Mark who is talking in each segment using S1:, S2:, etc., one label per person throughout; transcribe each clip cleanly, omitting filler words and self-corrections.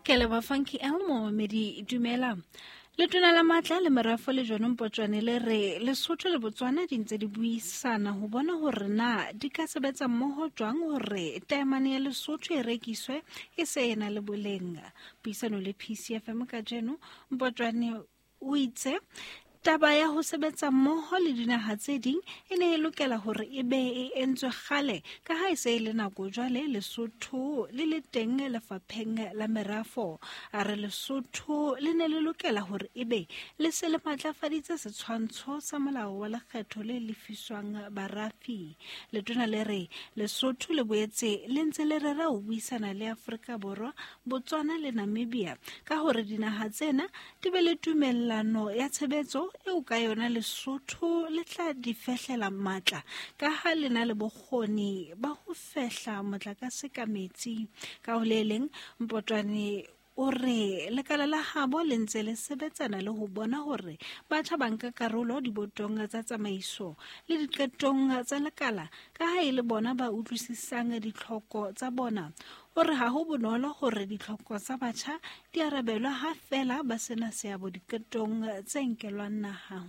S1: Ke leboha Funky L momamedi dumela. Letona la matla le merafo le John Mpotjwane le re Lesotho le Botswana di ntse di buisana ho bona hore na di ka sebetsa mmoho jwang hore taemane ya Lesotho e rekiswe e se e na le boleng. Puisano le PCFM kajeno Mpotjwane o itse taba ya ho sebetsa mmoho le dinaha tse ding e ne e lokela hore e be e entswe kgale ka ha e se e le nako jwale Lesotho le le teng lefapheng la merafo. A re Lesotho le ne le lokela hore e be le se le matlafaditse setshwantsho sa molao wa lekgetho le lefiswang barafi. Letona le re Lesotho le boetse le ntse le rera ho buisana le Afrika Borwa, Botswana le Namibia ka hore dinaha tsena di be le tumellano ya tshebetso eo ka yona Lesotho le tla di fehlela matla ka ha le na le bokgoni ba ho fehla motlakase ka metsi. Ka ho le leng, Mpotwane o re lekala la habo le ntse le sebetsana le ho bona hore batjha ba nka karolo dibotong tsa tsamaiso le diqetong tsa lekala ka ha e le bona ba utlwisisang ditlhoko tsa bona. O re ha ho bonolo hore ditlhoko tsa batjha di arabelwe ha feela ba sena seabo diqetong tse nkelwang naha.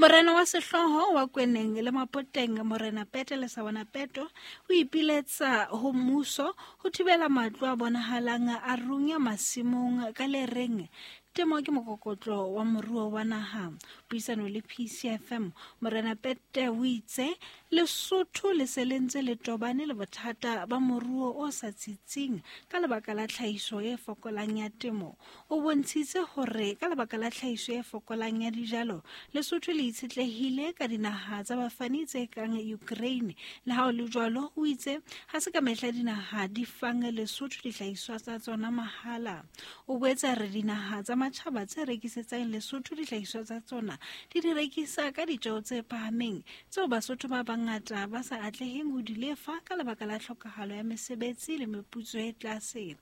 S1: Morena wa sehlooho wa Kweneng le Mapoteng, Morena Pete Lesawana Peto, o ipiletsa ho mmuso ho thibela matlo a bonahalang a runya masimong ka le reng temo ke mokokotlo wa moruo wa naha. Puisano le PCFM, Morena Pete o itse Lesotho le se le ntse le tobane le bothata ba moruo o sa tsitsing ka lebaka la tlhahiso e fokolang ya temo. O bontshitse hore ka lebaka la tlhahiso e fokolang ya dijalo, Lesotho le itshetlehile ka dinaha tsa bafani tse kang Ukraine. Le ha ho le jwalo, o itse ha se ka mehla dinaha di fang Lesotho dihlahiswa tsa tsona mahala. O boetse a re dinaha tsa matjhaba tse rekisetsang Lesotho dihlahiswa tsa tsona di di rekisa ka ditjeo tse phahameng tseo Basotho ba bangata ba sa atleheng ho di lefa ka lebaka la tlhokahalo ya mesebetsi le meputso e tlase.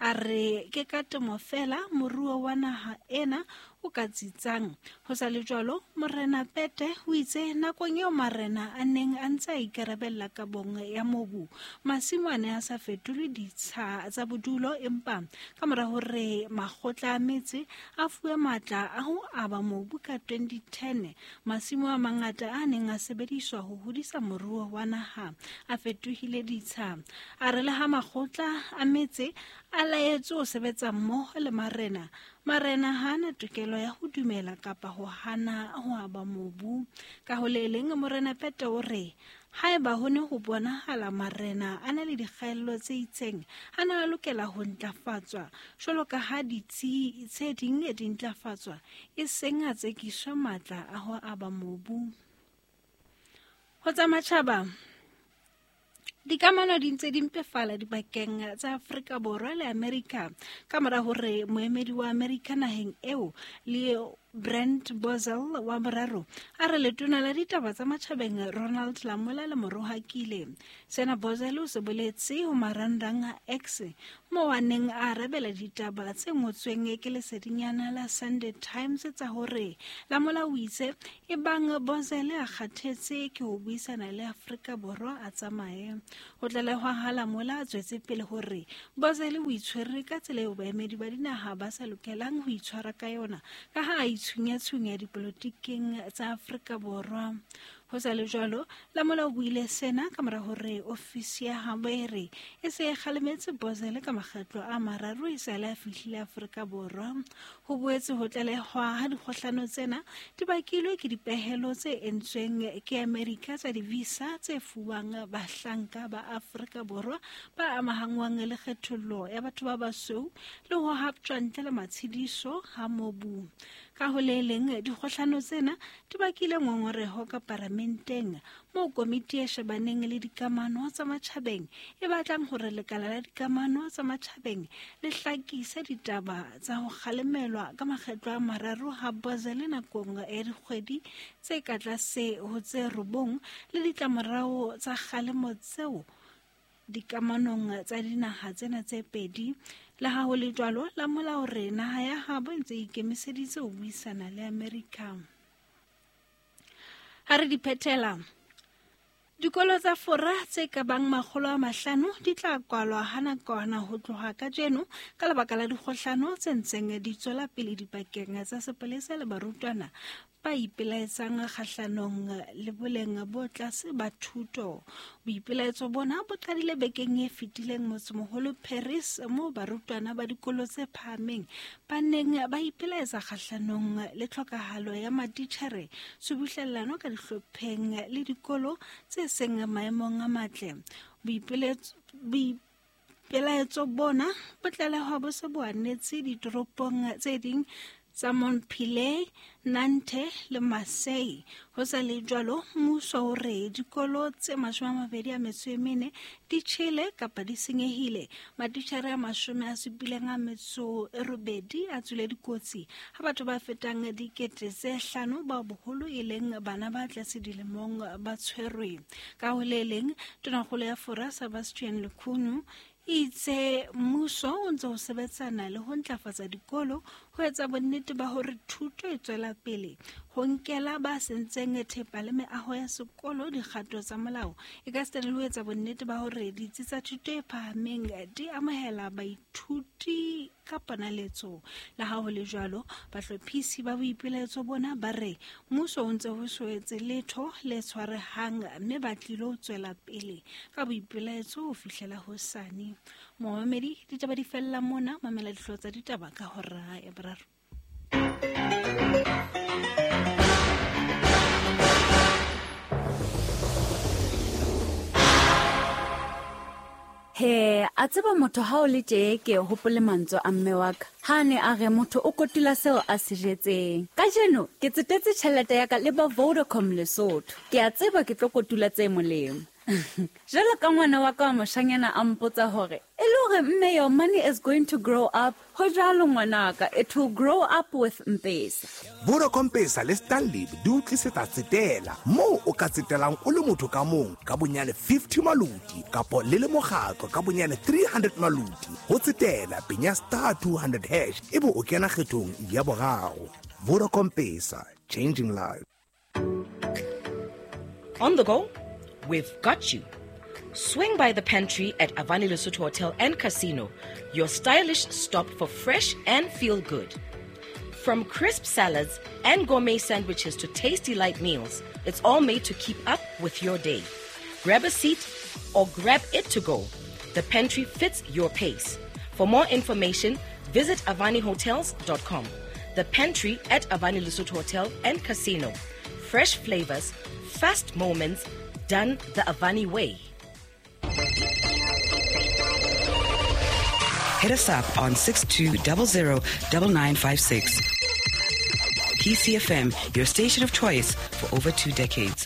S1: A re ke ka temo feela moruo wa naha ena o ka tsitsang. Ho sa le jwalo, Morena Pete o itse nakong eo marena a neng a ntse a ikarabella kabong ya mobu, masimo a ne a sa fetolwe ditsha tsa bodulo, empa ka mora hore makgotla a metse a fuwe matla a ho aba mobu ka 2010, masimo a mangata a neng a sebediswa ho hodisa moruo wa naha a fetohile ditsha. A re le ha makgotla a metse a laetswe ho sebetsa mmoho le marena, marena ha ana tokelo ya ho dumela kapa ho hana ho aba mobu. Ka ho le leng, Morena Pete o re haeba ho ne ho bonahala marena a na le dikgaello tse itseng, a ne a lokela ho ntlafatswa jwalo ka ha ditsi tse ding di ntlafatswa, e seng a tsekiswe matla a ho aba mobu. Ho tsa matjhaba, dikamano di ntse di mpefala dibakeng tsa Afrika Borwa le Amerika ka mora hore moemedi wa Amerika naheng eo le Brent Bozell wa boraro a re letona la ditaba tsa matjhabeng Ronald Lamola le mo rohakile. Sena Bozell o se boletse ho marangrang a X moo a neng a arabela ditaba tse ngotsweng ke lesedinyana la Sunday Times tsa hore Lamola o itse ebang Bozell a kgathetse ke ho buisana le Afrika Borwa a tsamaye. Ho tlalehwa ha Lamola a tswetse pele hore Bozell o itshwere ka tsela eo baemedi ba dinaha ba sa lokelang ho itshwara ka yona ka ha a itshunya-tshunya dipolotiking tsa Afrika Borwa. Ho sa le jwalo, Lamola o buile sena ka mora hore ofisi ya habo e re e se e kgalemetse Bozell ka makgetlo a mararo e sale a fihlile Afrika Borwa. Ho boetse ho tlalehwa ha dikgohlano tsena di bakilwe ke dipehelo tse entsweng ke Amerika tsa di-visa tse fuwang bahlanka ba Afrika Borwa ba amahangwang le kgethollo ya batho ba basweu le ho haptjwa ntle le matshediso ha mobu. Ka ho le leng, dikgohlano tsena di bakile ngongoreho ka paramenteng moo komiti e shebaneng le dikamano tsa matjhabeng e batlang hore lekala la dikamano tsa matjhabeng le hlakise ditaba tsa ho kgalemelwa ka makgetlo a mararo ha Bozele nakong ya dikgwedi tse ka tlase ho tse 9 le ditlamorao tsa kgalemo tseo dikamanong tsa dinaha tsena tse pedi. Le ha ho le jwalo, Lamola o re naha ya habo e ntse e ikemiseditse ho buisana le Amerika. Ha re di phethela, Dikolo tsa Fora tse ka bang 500 di tla kwalwa ha nakwana ho tloha kajeno ka lebaka la dikgohlano tse ntseng di tswela pele dipakeng tsa sepolesa le barutwana ba ipelaetsang kgahlanong le boleng bo tlase ba thuto. Boipelaetso bona bo qadile bekeng e fetileng motsemoholo Paris, moo barutwana ba dikolo tse phahameng ba neng ba ipelaetsa kgahlanong le tlhokahalo ya matitjhere, tshubuhlellano ka dihlopheng le dikolo tse seng maemong a matle. Boipelaetso bona bo tlalehwa bo se bo anetse ditoropong tse ding tsa Montpellier, Nantes le Marseille. Ho sa le jwalo, mmuso o re dikolo tse 24 di tjhele kapa di senyehile. Matitjhere a 78 a tswile dikotsi ha batho ba fetang 5,000 bao boholo e leng bana ba tlase dilemong ba tshwerwe. Ka ho le leng, tonakgolo ya Fora Sebastien Lecornu itse mmuso o ntse o sebetsana le ho ntlafatsa dikolo ho etsa bonnete ba hore thuto e tswela pele, ho nkela ba sentseng thepa le meaho ya sekolo dikgato tsa molao, e ka sitana le ho etsa bonnete ba hore ditsi tsa thuto e phahameng di amohela baithuti ka ponaletso. Le ha ho le jwalo, bahlophisi ba boipelaetso bona ba re mmuso o ntse ho so etse letho le tshwarehang mme ba tlilo tswela pele ka boipelaetso ho fihlela hosane. Momamedi, ditaba di fella mona, mamela dihlooho tsa ditaba ka hora ya boraro.
S2: He, a tseba motho ha o le tje ke hopole mantswe a mme wa ka. Ha ne a re motho o kotula seo a se jetseng. Kajeno ke tsetetse tjhelete ya ka le ba Vodacom Lesotho. Ke a tseba ke tlo kotula tse molemo. Jwalo ka ngwana wa ka wa moshanyana a mpotsa hore e le hore mme your money is going to grow up. Ho jwalo ngwanaka, it will grow up with Mpesa.
S3: Vodacom Pesa le Stanlib di o tlisetsa tsetela moo o ka tsetelang o le motho ka mong ka bonyane 50 maluti kapo le le mokgatlo ka bonyane 300 maluti. Ho tsetela penya star 200 hash ebe o kena kgethong ya boraro. Vodacom Pesa, changing lives.
S4: On the go? We've got you. Swing by the pantry at Avani Lesotho Hotel and Casino, your stylish stop for fresh and feel good. From crisp salads and gourmet sandwiches to tasty light meals, it's all made to keep up with your day. Grab a seat or grab it to go. The pantry fits your pace. For more information, visit avanihotels.com. The pantry at Avani Lesotho Hotel and Casino. Fresh flavors, fast moments, done the Avani way.
S5: Hit us up on 6200 9956. PCFM, your station of choice for over 2 decades.